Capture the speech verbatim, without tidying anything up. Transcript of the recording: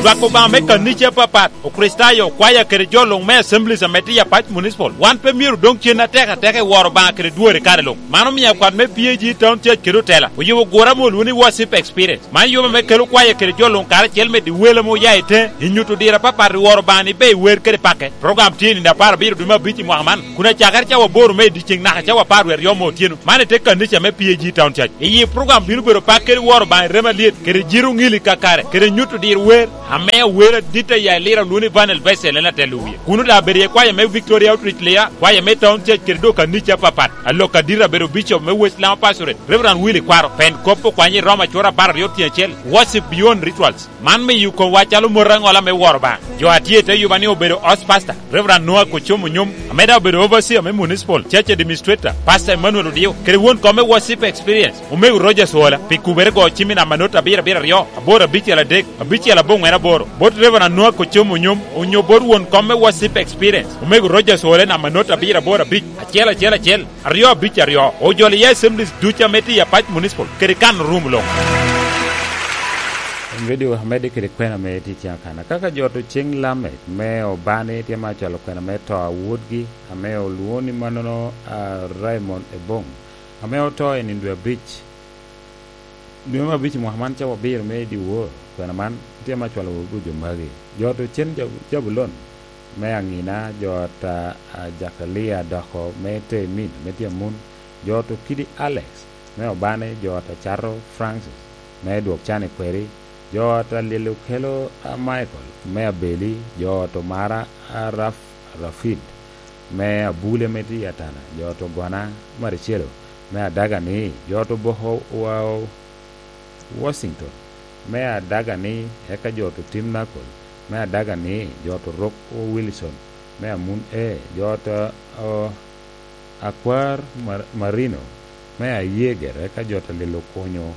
Lwak Obaŋa me kanica apapat, Okricitayo, okwaya kede jo luŋ me Assemblies ame tye i Apac Municipal, wan pe myero odoŋ cen atek ateka i woro Obaŋa kede dwori kare luŋ. Man omio akwat me P A G Town Church kede otela oyubo gure ame olwoŋo ni Worship Experience. Man yub ame kelo kwaya kede jo luŋ karacel medo i wel ame oya i teŋe, i nyuto diro apapat i woro Obaŋa ni ber i wer kede pake. Program tye i nino apar abiro dwe me abic i mwaka man, kun acakere cawa aboro me i dyeceŋ naka cawa apar wie aryo me otyeno. Man i te kanica me P A G Town Church. I yi program bino bedo pak kede woro Obaŋa i remo alyet, kede jito oŋili kakare, kede nyuto diro wer, ame awer adit a ya i Lira olwoŋo ni Vanel Bessel en atelo wie. Kuno daŋ abedo iye kwaya me Victoria Outreach Lira, kwaya me Town Church kede dok kanica apapat. Alok adit abedo Bishop me West Lama Pastorate, Reverend Willy Kwaro, pen kop okwanye i Roma acwora apar aryo tyen acel, Worship Beyond Rituals. Man miyo komwa calo mot aŋola me woro Obaŋa. Jo a tye i te yuba ni obedo Host Pastor, Reverend Noah Kocomo Onyom, ame daŋ obedo Overseer me Municipal Church Administrator, Pastor Emmanuel Odio, kede won kom me Worship Experience, Omego Rogers Ola, pi kubere go cim i namba not abiro abiro aryo, aboro abicel adek, abicel aboŋwen aboro, bot Reverend Noah Kocomo Onyom, onyo bot won kom me Worship Experience, Omego Rogers Ola i namba not abiro aboro abic, acel acel acel, aryo abic aryo. Ojolo iye Assemblies ducu ame tye i Apac Municipal, kede kan rum luŋ. Redio amedde kede kwena me tic akana. Kaka jo to ceng Lamek me Obani tye ma cwalo kwena me to a wodgi, ame olwoŋo ni mannono, a, Raymond Ebong, ame oto i nino dwe abic. Dwe me abic i mwaka man cawa abiro me dyewor, kwena man tye ma cwalo wodgi jo magi. Jo to cen Jab-, Jabulon me Aŋina, jo ot a, a, Jakalia Doko me Temin, me Tyamun, jo to kidi Alex me Obani, jo ot a Cato Francis me Dwok Can i Kweri, jo ot a Lilo Kelo a Michael me Abeli, jo ot Omara a Raf-, Rafid me Abule me tye i Atana, jo ot Ogona Maricelo me Adagani, jo ot Oboko wa Washington me Adagani, eka jo ot Tim Nakol me Adagani, jo ot Rok Wilson me Amun E, jo ot, o, Akwar Mar-, Marino me Ayeger, eka jo ot Lilo Konyo